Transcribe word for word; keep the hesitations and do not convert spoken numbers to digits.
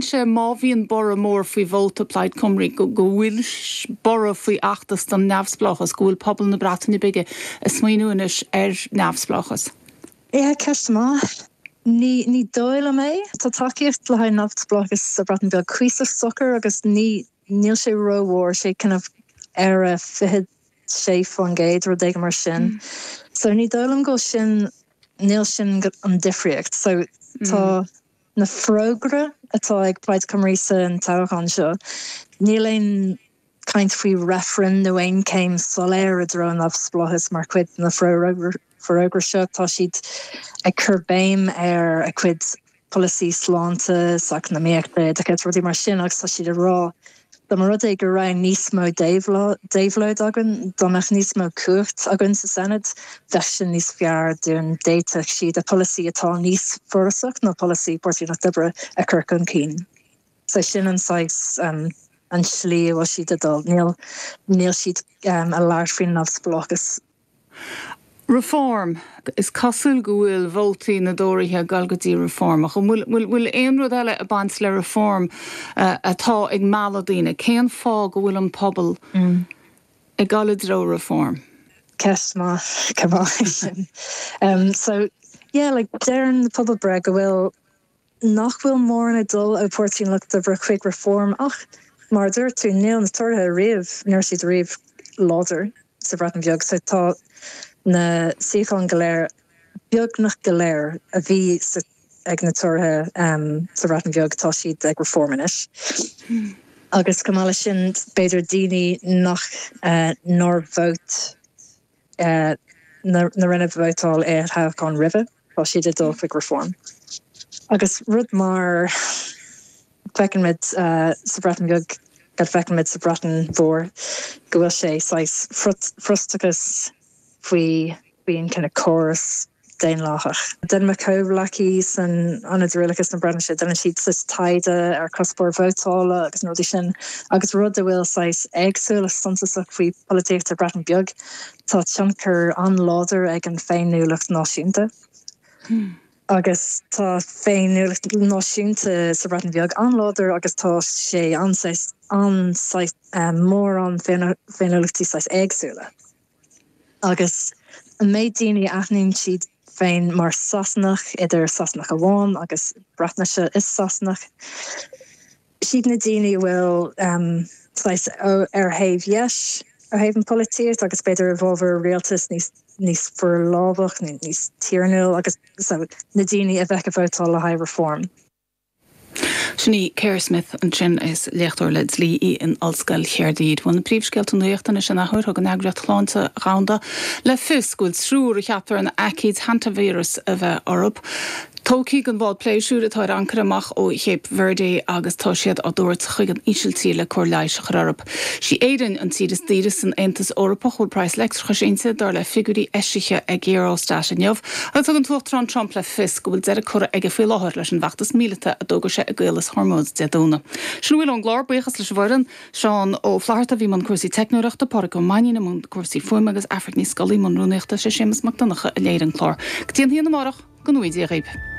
Ciallaíonn sé má bhíonn borradh mór faoi vóta Plaid Cymru go bhfuil borradh faoi fheachtas don neamhspleáchas, go bhfuil pobal na Breataine Bige ag smaoineamh anois ar neamhspleáchas. Yeah, ceist maith. Ní ní dóigh liom é Tá tacaíocht le haghaidh neamhspleáchas sa Bhreatain Bheag cuíosach socair agus ní níl sé rómhór sé kind of ar a fiche sé faoin gcéad rud éigin mar sin. Mm. So ní dóigh liom go sin níl sin an difríocht. So tá mm. na forógra atá ag Plaid Cymru san toghchán seo. Níl aon caint faoi referendum nó aon céim soiléir i dtreo neamhspleáchas mar chuid na forógra seo tá siad ag cur béim ar a cuid polasaí sláinte eacnamaíochta oideachais rudaí mar sin agus tá siad ag rá dá mba rud é go raibh níos mó déabhlóid againn dá mbeadh níos mó cumhacht againn sa Senedd bheadh sin níos fearr dúinn d'fhéadfadh siad a polasaí atá níos forásach ná polasaí Páirtí an Lucht Oibre a chur chun cinn. So sin an saghas um, an slí a bhfuil siad ag dul níl níl siad um, ag labhairt faoin neamhspleáchas. Reform is cosúil go bhfuil vótaí na dTóraithe ag dul go dtí Reform ach bhfuil bhfuil aon rud eile ag baint le Reform uh, atá ag mealladh daoine cén fáth go bhfuil an pobal mm. ag dul i dtreo Reform. Ceist maith go sin. Um, so yeah, like deireann pobalbhreith go bhfuil nach bhfuil mórán ag dul ó Pháirtí an Lucht Oibre chuig Reform ach mar dúirt tú níl na Tóraithe riamh ní raibh siad riamh láidir sa Bhreatain Bheag so tá na suíocháin go léir beagnach go léir a bhí ag na Tóraithe um, sa Bhreatain Bheag tá siad ag Reform anois. Hmm. Agus go maith sin b'fhéidir daoine nach uh, nár vótáil uh, na, na rinne vótáil i toghchán roimhe tá siad ag dul chuig Reform. Agus rud mar feicimid uh, sa Bhreatain Bheag go bhfeicimid sa Bhreatain Mhór go bhfuil sé saghas frustrachas faoi bhíon kind of córas daonlathach. Déanann mo chomhghleacaí san Ionad Rialachas na Breataine déanann siad saghas taighde ar cuspóir vótála agus rudaí sin agus rud a bhfuil saghas éagsúil suntasach faoi polaitíocht Breatain Beag tá tionchar an-láidir ag an féiniúlacht náisiúnta. Hmm. Agus tá féiniúlacht náisiúnta sa Bhreatain Bheag an-láidir agus tá sé an an mór an féiniúlachtaí saghas éagsúla. Agus an méid daoine aithníonn siad féin mar Sasanach idir Sasanach amháin agus Breatnaise is Sasanach. Siad na daoine bhfuil um, ar thaobh dheis ar thaobh an polaitíocht agus b'fhéidir i bhfabhar rialtas níos níos forlámhach níos tiarnúil agus so, na daoine a bheith ag vótáil le haghaidh Reform. Sin í Kerr Smith ansin is léachtóir le dlí í in Ollscoil Chaerdydd. Bhuel na príomhscéalta nuachta anois an athuair thug an Eagraíocht Shláinte Dhomhanda le fios go bhfuil triúr a cheaptar an aicíd hantavíreas a bheith orthu. Tógtha den bhád pléisiúir atá ar ancaire amach ó Cape Verde agus tá siad á dtabhairt chuig an Ísiltír le cóir leighis a chur orthu. Sí Éirinn an tír is daoire san Aontas Eorpach bhfuil praghas leictreachais inti dar le figiúirí eisithe ag Eurostat inniu, agus thug an tUachtarán Trump le fios go bhfuil deireadh curtha aige faoi láthair leis an bhfeachtas míleata a d'fhógair sé i gCaolas Hormuz Dé Domhnaigh. Sin a bhfuil ón gclár buíochas leis an bhfoireann Seán Ó Flatharta bhí i mbun cúrsaí teicneoireachta Pádraig Ó Mainnín i mbun cúrsaí fuaime agus Aifric Ní Scolaí i mbun rúnaíochta sé Séamus Mac Donncha a léirigh an clár. Go dtí an haon amárach go ngnóthaí Dia dhaoibh.